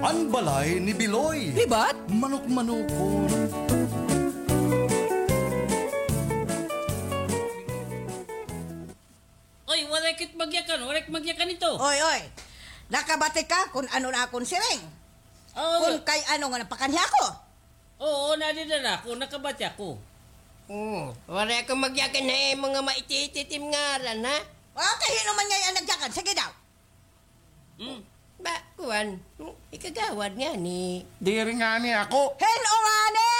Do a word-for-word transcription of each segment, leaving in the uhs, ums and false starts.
An balay ni Biloy. Libat? Manok-manokon. Oy, waray kit magyakan, waray kit magyakan ito. Oy, oy. Nakabati ka kun ano na akon siring? Oo. Kun kay ano nga napakanhi ako? Oo, nadidara ako, nakabati ako. Oo, waray ako magyakan ha imo nga maiti-iti it im ngaran, ha? O, kay hin-o man ngay-an nagyakan? Sige daw. Hmm. Ba, kuan, ikagawad ngani. Diri ngani ako. Hin-o ngani?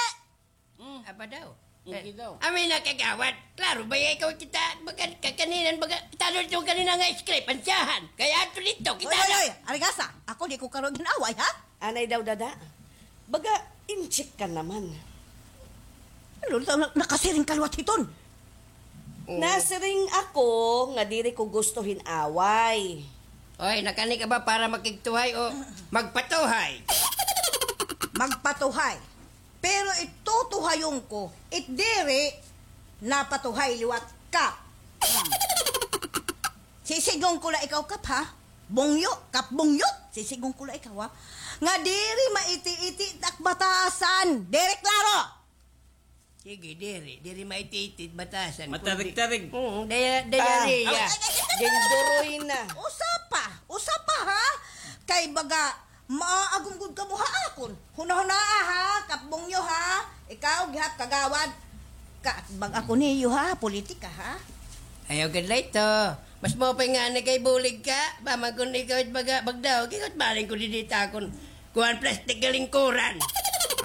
Hmm. Aba daw. Sige daw. Ami na kagawad. Klaro ba ya ikaw kita? Baga, kakaninan, baga, kita ito kanina nga script, ansyahan. Kay adto didto, kita na. Oy, oy, oy, arigasa. Ako di ko karo gin-away, ha? Anay daw, dada. Baga, inchik ka naman. Ano, na-, nakasiring ka liwat hiton? Oo. Nasiring ako nga diri ko gusto hin-away. Oy, nakani ka ba para makigtuhay o magpatuhay? Magpatuhay. Pero it tutuhayon ko, it diri napatuhay liwat, Kap. Hmm. Sisidngon ko la ikaw, Kap, ha? Bungyo, Kap Bungyot. Sisidngon ko la ikaw, ha? Nga diri maiti-iti it ak batasan. Diri klaro? Sige, diri. Diri maiti-iti it batasan. Matarig-tarig. Kundi, mm, daya-, diarrhea. Ah. Ginduroy na. Usa pa. Usa pa, ha? Kay baga, maagom gud kamo ha akon. Hunahunaa, ha, Kap Bungyo, ha. Ikaw, gihap kagawad. Kaatbang ako niyo, ha, politika, ha. Ayaw gad la ito. Mas maupay ngani kay bulig ka. Ba man kun ikaw it baga, bagdaw, gingot baling ko didi ta akon kuan plastik nga lingkuran.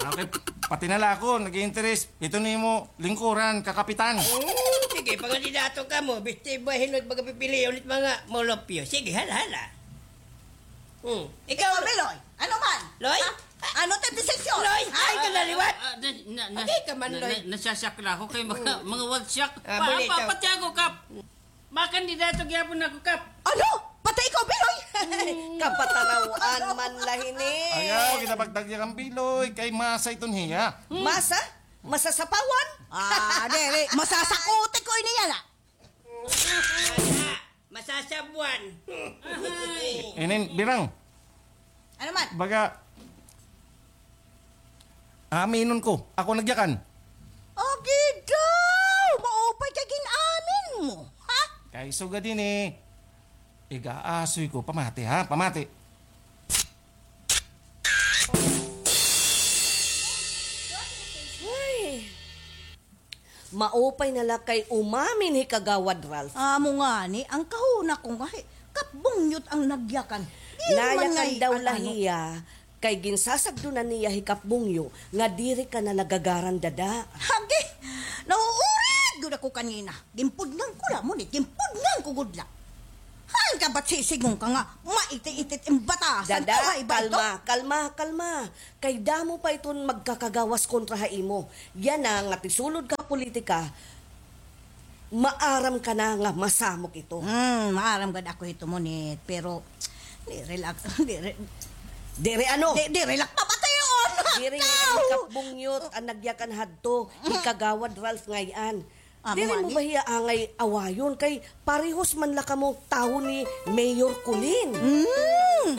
Ah, okay, pati na la ako nag-interes. Ito nimo lingkuran, kakapitan. Hmm, sige, pangandidato kamo. Bisti ba hinot baga pipilion it mga molopyo. Sige, hala, hala. Hmm. Ikaw, Biloy, ano man? Loy? Ha? Ano it desisyon? Loy, ay ka na liwat. Ah, ah, na, na, na, Agay ka man, na, Loy. Na, nasasyak na ako kay mga, mga watsyak. Ah, pa, bulito. Pa, pati ako, Kap. Makandidato gyapon ako, Kap. Ano? Pati ikaw, Biloy? Hmm. Kapataraw-an man la hini. Ayaw, kita pagtagyakan, Biloy, kay masa iton hiya. Hmm. Masa? Masasapawan? Ah, diri. Masasakuti ko ini yana. Masasabwan. Ahay. Inin, Birang. Ano man? Baga, aminon ko, ako nagyakan. Agi daw! Maupay kay gin-amin mo, ha? Kay sugad ini, igaasoy ko, pamati ha, pamati. Ay. Maupay na la kay umamin hi Kagawad Ralph. Amo ngani, an kahuna ko nga hi Kap Bungyot an nagyakan. Nayakan daw la hiya kay ginsasagdonan niya hi Kap Bungyo nga diri ka na nagagaran dada. Agi, nauurig gud ako kanina. Ginpudngan ko la, ngunit ginpudngan ko gud la. Hain ka ba't sisidngon ka nga maiti-iti it im batasan? Dada, kalma, kalma, kalma. Kay damo pa iton magkakagawas kontra ha imo. Yana nga tisulod ka ha politika, maaram ka na nga masamok ito. Hmm, maaram gad ako hito, ngunit, pero diri la, diri. Diri ano? Di, diri la pamation. Diri nga hi Kap Bungyot an nagyakan hadto, hi Kagawad Ralph ngay-an. Diri mo ba hiya angay awayon kay parehos man la kamo tawo ni Mayor Colin. Hmm.